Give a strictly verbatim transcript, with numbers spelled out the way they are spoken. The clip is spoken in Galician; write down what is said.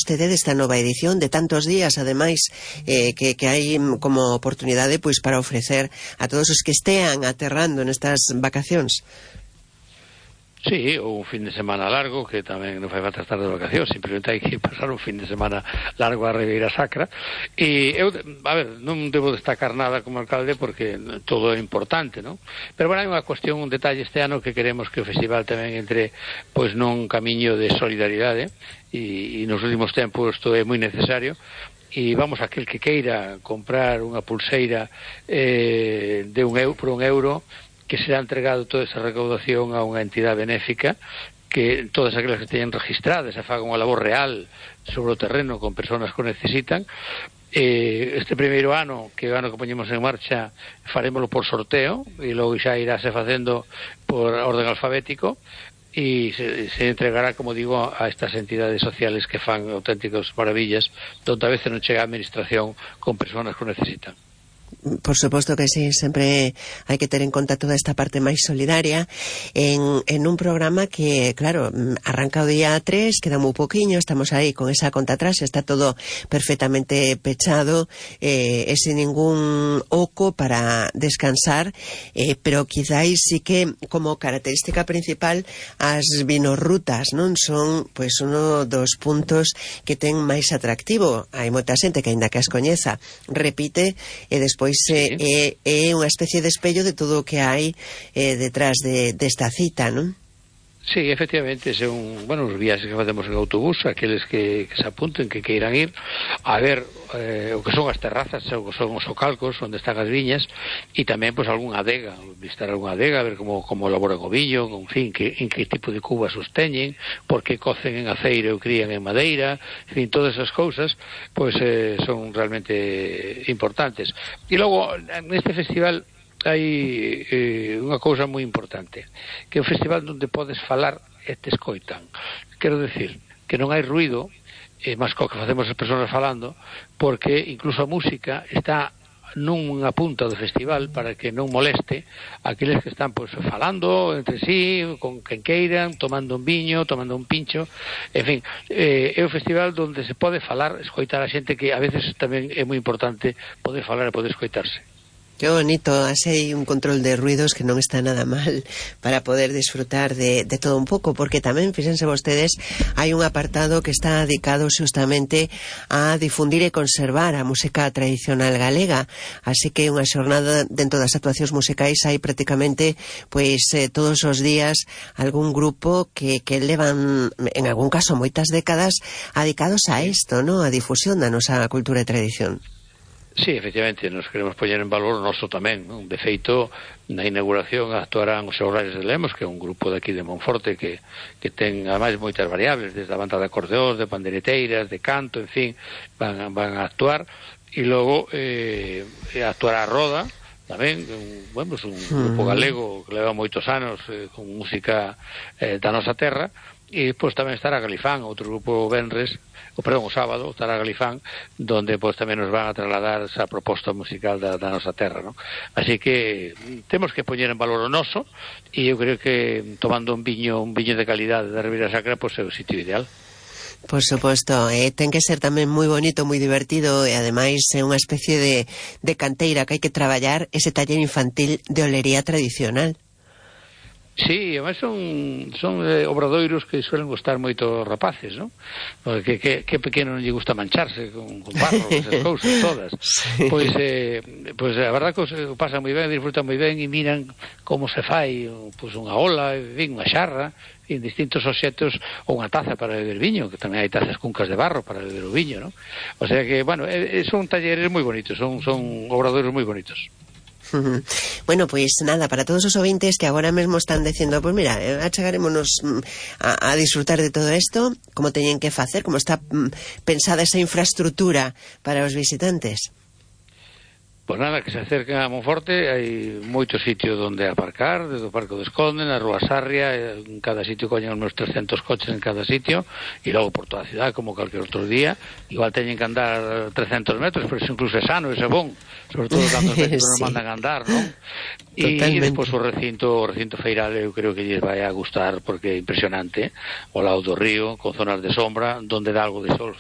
vostede desta nova edición de tantos días, ademais, eh, que, que hai como oportunidade pois para ofrecer a todos os que estean aterrando nestas vacacións. Sí, ou un fin de semana largo, que tamén non fai falta estar de vacacións, simplemente hai que pasar un fin de semana largo a Ribeira Sacra. E eu, a ver, non debo destacar nada como alcalde porque todo é importante, non? Pero bueno, hai unha cuestión, un detalle este ano que queremos que o festival tamén entre pois nun camiño de solidaridade e, e nos últimos tempos isto é moi necesario. E vamos, aquel que queira comprar unha pulseira eh, de un euro, por un euro, que será entregado toda esa recaudación a unha entidade benéfica, que todas aquelas que teñen registradas e fagan unha labor real sobre o terreno con persoas que o necesitan. Eh, este primeiro ano, que é o ano que poñemos en marcha, farémoslo por sorteo e logo xa iráse facendo por orden alfabético e se, se entregará, como digo, a estas entidades sociales que fan auténticas maravillas, donde a veces non chega a administración con persoas que o necesitan. Por suposto que sí, sempre hai que ter en conta toda esta parte máis solidaria en, en un programa que, claro, arranca o día tres, queda moi poquinho, estamos aí con esa conta atrás, está todo perfectamente pechado, eh, e sin ningún oco para descansar, eh, pero quizáis sí que como característica principal as vinorrutas, non? Son, pois, uno dos puntos que ten máis atractivo. Hai moita xente que, aínda que as coñeza, repite e despois pois é, sí. é, é unha especie de espello de todo o que hai eh, detrás de, desta cita, non? Sí, efectivamente, son, bueno, os viaxes que facemos en autobús, aqueles que, que se apunten, que queiran ir a ver eh, o que son as terrazas, o que son os socalcos onde están as viñas, e tamén, pois, algunha adega, visitar algunha adega, ver como, como elaboran o viño, en fin, que, en que tipo de cubas os teñen, porque cocen en aceiro ou crían en madeira, en fin, todas esas cousas, pois, eh, son realmente importantes. E logo, neste festival hai eh, unha cousa moi importante, que é un festival onde podes falar e te escoitan. Quero decir que non hai ruido, eh, máis co que facemos as persoas falando, porque incluso a música está nunha punta do festival para que non moleste aqueles que están pois falando entre sí, con quen queiran, tomando un viño, tomando un pincho, en fin, eh, é un festival onde se pode falar, escoitar a xente, que a veces tamén é moi importante poder falar e poder escoitarse. Qué bonito, así hai un control de ruidos que non está nada mal para poder disfrutar de, de todo un pouco, porque tamén, fíxense vostedes, hai un apartado que está dedicado justamente a difundir e conservar a música tradicional galega, así que unha xornada dentro das actuacións musicais hai prácticamente, pois, eh, todos os días algún grupo que, que levan, en algún caso, moitas décadas dedicados a isto, ¿no? A difusión da nosa cultura e tradición. Sí, efectivamente, nos queremos poñer en valor o noso tamén, non? De feito, na inauguración actuarán os Seurrares de Lemos, que é un grupo de aquí de Monforte que, que ten, ademais, moitas variables, desde a banda de acordeóns, de pandereteiras, de canto, en fin, van, van a actuar, e logo eh, actuará a Roda, tamén, un, bueno, pues un grupo galego que leva moitos anos eh, con música eh, da nosa terra, e pois tamén estará Galifán, outro grupo venres, o perdón, o sábado estará Galifán, donde pois tamén nos van a trasladar esa proposta musical da, da nosa terra, ¿no? Así que temos que poñer en valor o noso, e eu creo que tomando un viño un viño de calidade da Ribeira Sacra, pois é o sitio ideal. Por suposto, eh, ten que ser tamén moi bonito, moi divertido, e ademais é unha especie de, de canteira que hai que traballar ese taller infantil de olería tradicional. Sí, además son, son eh, obradoiros que suelen gustar moito rapaces, non? Porque que, que pequeno non lle gusta mancharse con, con barro, esas cousas todas. Sí. Pois, eh, pois a verdad que o pasan moi ben, disfrutan moi ben e miran como se fai pois, unha ola, ben, unha xarra, en distintos obxectos, ou unha taza para beber viño, que tamén hai tazas cuncas de barro para beber o viño, non? O sea que, bueno, eh, son talleres moi bonitos, son, son obradoiros moi bonitos. Bueno, pois pues nada, para todos os ouvintes que agora mesmo están dicindo, pois pues mira, achegarémonos a, a disfrutar de todo isto, como teñen que facer, como está pensada esa infraestructura para os visitantes. Pois nada, que se acerquen a Monforte, hai moitos sitios onde aparcar, desde o Parque do Esconde, na Rúa Sarria, en cada sitio coñen os meus trescentos coches en cada sitio, e logo por toda a cidade, como calquer outro día, igual teñen que andar trescentos metros, pero iso incluso é sano, é bon, sobre todo cando os metros sí. non mandan a andar, non? E, e despois o recinto, o recinto feiral eu creo que lles vai a gustar, porque é impresionante, ao lado do río, con zonas de sombra, donde dá algo de sol